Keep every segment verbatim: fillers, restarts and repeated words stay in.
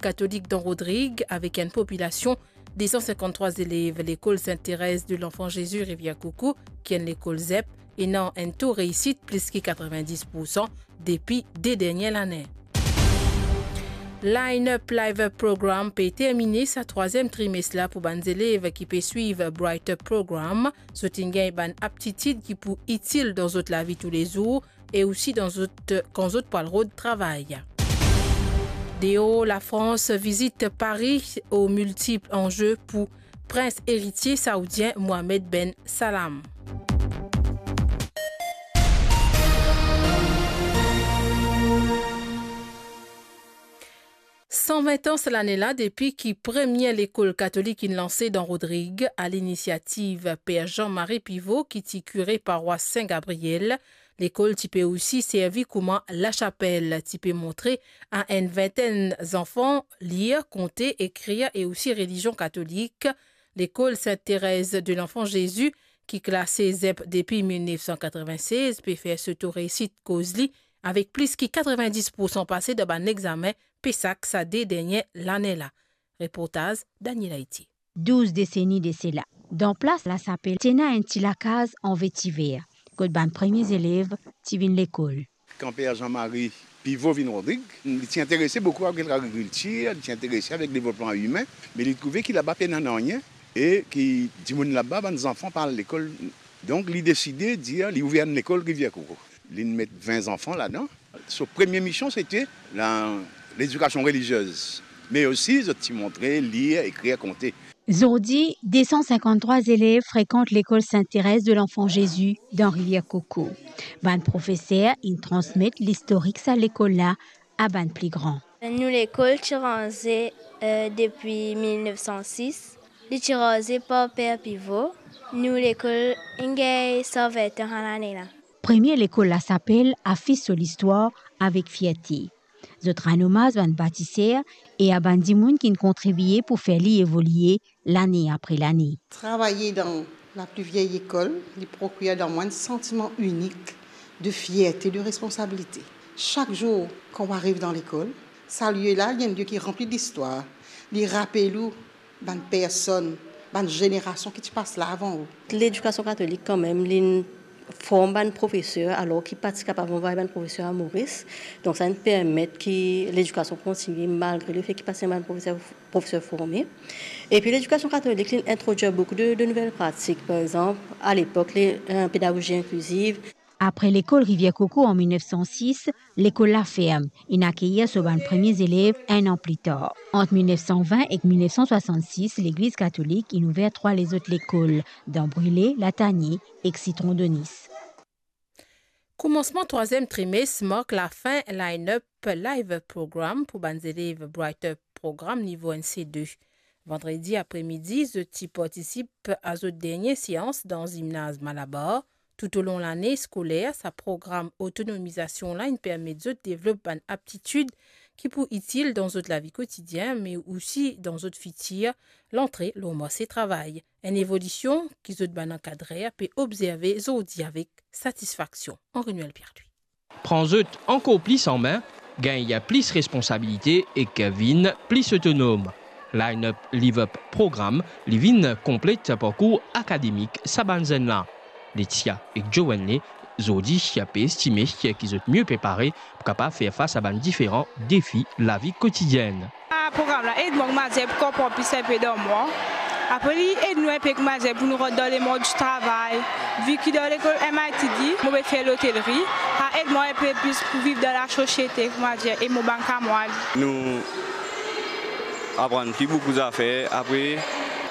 katolik dan Rodrig, avek enn popilasion de san sinkant-trwa zelev. Lekol Sainte Thérèse de l'Enfant Jésus Rivière Coco, ki enn lekol ZEP, ena enn to reisit plis ki katrevinndis poursan depi de dernie lane. Line Up Live Up Program pe termine sa trwaziem trimes la pou bann zelev ki pe swiv Bright Up Program. Zot inn gagn bann aptitid ki pou itil dan zot lavi toulezour e osi dan zot, kan zot pou al rod travay. Deor Lafrans, vizit Paris aux multiples enjeux pou prins eritie saoudien Mohamed Ben Salman. San vin an sa lane la depi ki premie lekol katolik inn lanse dan Rodrig, a linisiativ Per Jean-Marie Pivot, ki ti kire parwas Sin Gabriel. Lekol ti pe osi servi kouma lasapel, ti pe montre a enn vintenn zanfan lir, konte, ekrir e osi relizion katolik. Lekol Sainte Thérèse de l'Enfant Jésus, ki klase ZEP depi mil nef san katrevinnsez, pe fer so to reisit koz li, avek plis ki katrevinndis poursan pase dan bann examen PESAC sa de dernie lane la. Reportaz Daniel Haiti. Douz deseni de sela, dan plas lasapel, ti ena enn ti lakaz an vetiver, kot bann premie zelev ti vinn lekol. Kan Per Jean-Marie Pivot vinn Rodrig, li ti interese boukou avek lagrikiltir, li ti interese avek devlopman imin, me li trouve ki laba pena nanye e ki dimoun laba, bann zanfan pa al lekol. Donk, li deside dir li ouver enn lekol Rivière Coco. Li met vin zanfan ladan. So premie mision, sete la, ledikasion reliziez, me osi zot ti montre lir, ekrir, konte. Zordi, de san sinkant-trwa zelev frekant lekol Sainte Thérèse de l'Enfant Jésus dan Rivière Coco. Bann profeser inn transmet listorik sa lekol la a bann pli gran. Nou lekol ti ranze, eh, depi mil nef san sis. Li ti ranze par Per Pivot. Nou lekol inn gagn san vin an sa lane la. Premie lekol lasapel afis so listwar avek fierte. Zot rann omaz bann batiser e a bann dimoun ki'nn kontribie pou fer li evolie lane apre lane. Travay dan lapli vie lekol, li prokir dan mwa enn santiman inik de fierte, de responsabilite. Sak zour kan ou ariv dan lekol, sa lie la, li enn lie ki ranpli listwar. Li rapel ou bann personn, bann zenerasion ki ti pas la avan ou. Ledikasion katolik, kanmem, li form bann profeser, alor ki pa ti kapav anvway bann profeser a Moris. Donk, sa inn permet ki ledikasion kontinie, malgre lefet ki pa ti ena bann profeser, profeser forme. Epi, ledikasion katolik, li introdwir boukou de, de nouvel pratik. Par exanp, a lepok, le, eh, pedagozi inkliziv. Apre lekol Rivière Coco an mil nef san sis, lekol la ferm, inn akeir so bann premie zelev enn an pli tar. Ant mil nef san vin ek mil nef san swasann sis, Legliz Katolik inn ouver trwa lezot lekol, dan Brile, Latanie ek Sitron Donis. Koumansman trwaziem trimes mark lafin Line Up Live Program pou bann zelev Bright Up Program nivo enn C de. Vandredi apremidi, zot ti partisip a zot dernie seans dan zimnaz Malabar. Toutolong lane skoler, sa program otonomizasion la inn permet zot devlop bann aptitid ki pou itil dan zot lavi kotidien, me osi dan zot fitir, lantre lor marse travay. Enn evolision ki zot bann ankadrer pe obzerve zordi avek satisfaksion. Henri Noël Pierre-Louis. Pran zot ankor plis an me, gagn plis responsabilite ek vinn plis otonom. Line Up Live Up Program, li vinn konplet parkour akademik sa bann zenn la. Letia ek Jowenle, zordi, pe estime ki zot mie prepare pou kapav fer fas a bann diferan defi lavi kotidienn. Sa program la ed mwa kouma dir pou konpran plis inpe dan mwa. Apre li ed nou inpe kouma dir pou nou rant dan lemond di travay. Vi ki dan lekol M I T D, mo pe fer lotelri, sa ed mwa inpe plis pou viv dan lasosiete, kouma dir, e mo bann kamarad. Nou aprann pli boukou zafer. Apre,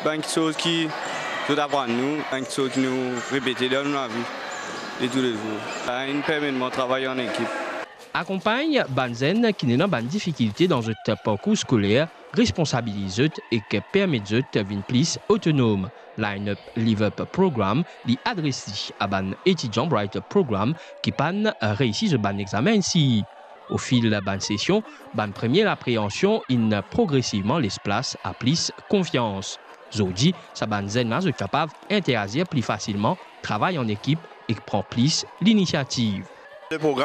bann kiksoz ki zot aprann nou, bann kiksoz ki nou repete dan nou lavi de toulezour. Sa inn permet mwa travay an ekip. Akonpagn bann zenn ki ena bann difikilte dan zot parkour skoler, responsabiliz zot ek permet zot vinn plis otonom. Line Up Live Up Program, li adres li a bann etidian Bright Up Program ki pa'nn reisi zot bann examen isi. Ofil bann sesion, bann premie lapreansion inn progresivman les plas a plis konfians. Zordi, sa bann zenn la, zot kapav interazir pli fasilman, travay an ekip ek pran plis linisiativ. Le program